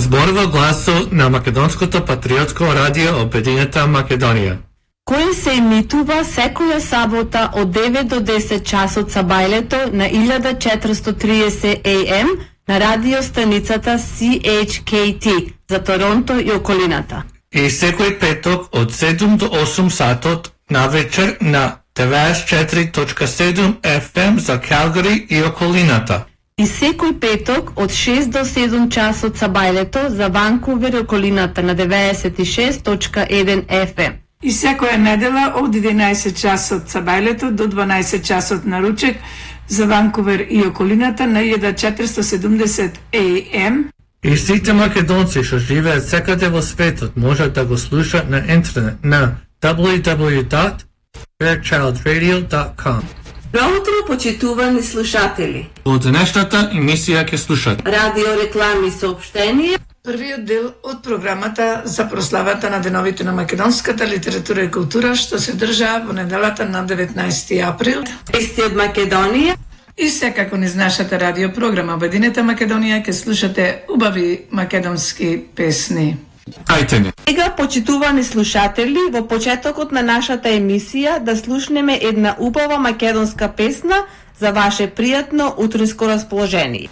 зборува гласот на Македонското патриотско радио Обединета Македонија, кој се емитува секоја сабота од 9 до 10 часот сабајлето на 1430 AM на радиостаницата CHKT за Торонто и околината. И секој петок од 7 до 8 сатот на вечер на 94.7 FM за Калгари и околината. И секој петок од 6 до 7 часот сабајлето за Ванкувер и околината на 96.1 FM. И секоја недела од 11 часот сабајлето до 12 часот на ручек за Ванкувер и околината на 1470 AM. И сите македонци што живеат секаде во светот можат да го слушаат на интернет на www.fairchildradio.com. Добро утро, почитувани слушатели. Во денешната емисија ќе слушат радио реклами и соопштенија. Првиот дел од програмата за прославата на деновите на македонската литература и култура што се држа во неделата на 19 април. Вести од Македонија. И секако низ нашата радиопрограма Обединета Македонија ќе слушате убави македонски песни. Ајте ни. Сега, почитувани слушатели, во почетокот на нашата емисија да слушнеме една убава македонска песна за ваше пријатно утринско расположение.